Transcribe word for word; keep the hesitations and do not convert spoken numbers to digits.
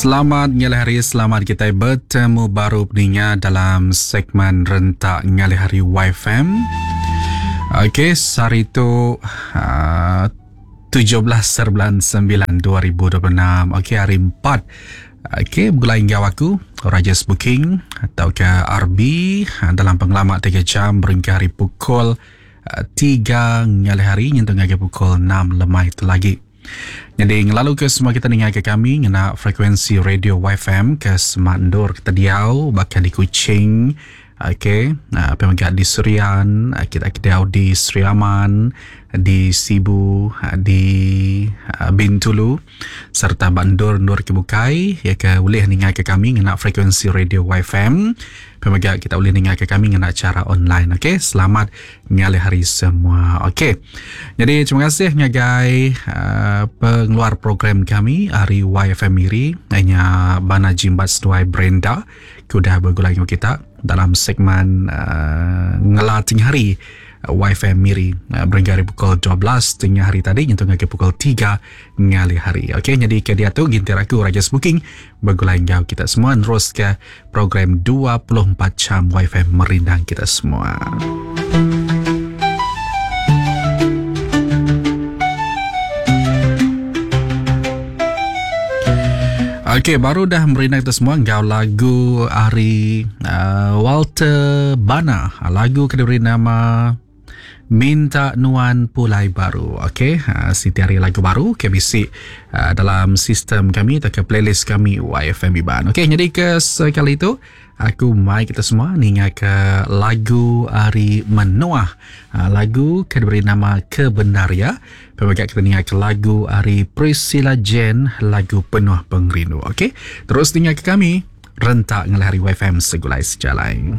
Selamat ngalih hari, selamat kita bertemu baru peninga dalam segmen Rentak Ngalih Hari Y F M. Okey, hari tu uh, tujuh belas bulan sembilan dua ribu dua puluh enam. Okey, hari empat. Okey, bergulai enggau aku Rajes Booking atau ke R B dalam pengalaman tiga jam berhingga hari pukul tiga ngalih hari nyentuh ngagai pukul enam lemai itu lagi. Jadi ngelalu ke semua kita dengar ke kami ngena frekuensi radio Y F M ke Semandur kita diau bahkan di Kuching. Okey, uh, pemegak di Serian, kita kita di Sri Aman, di Sibu, di uh, Bintulu serta Bandur Nur Kebukai ya ke boleh dengar ke kami ngena frekuensi radio Y F M. Pemegak kita boleh dengar ke kami ngena cara online. Okey, selamat ngalih hari semua. Okey. Jadi terima kasih ngagai uh, pengeluar program kami hari Y F M Miri hanya Bana Jimbat Seduai Brenda kudah bergulai dengan kita dalam segmen uh, Ngelating Hari Y F M Miri uh, berhingga hari pukul dua belas tengah hari tadi nyentuh ke pukul tiga ngalih hari. Okey, jadi ke dia tu gintir aku Rajas Booking bergulai enggau kita semua terus ke program dua puluh empat jam Y F M merindang kita semua. Okey, baru dah merindang kita semua enggau lagu hari uh, Walter Bana. Lagu ke diberi nama Minta Nuan Pulai Baru. Okey, uh, Siti hari lagu baru K B C uh, dalam sistem kami atau ke playlist kami Y F M Iban. Okey, jadi ke sekali itu aku mai kita semua ninga ke lagu hari Menoah. Uh, lagu ke diberi nama Kebenaria. Pemegat kita ninga ke lagu hari Priscilla Jane, lagu Penuh Pengrindu. Okey, terus ninga ke kami Rentak Ngalih Hari Y F M Segulai Sejalai.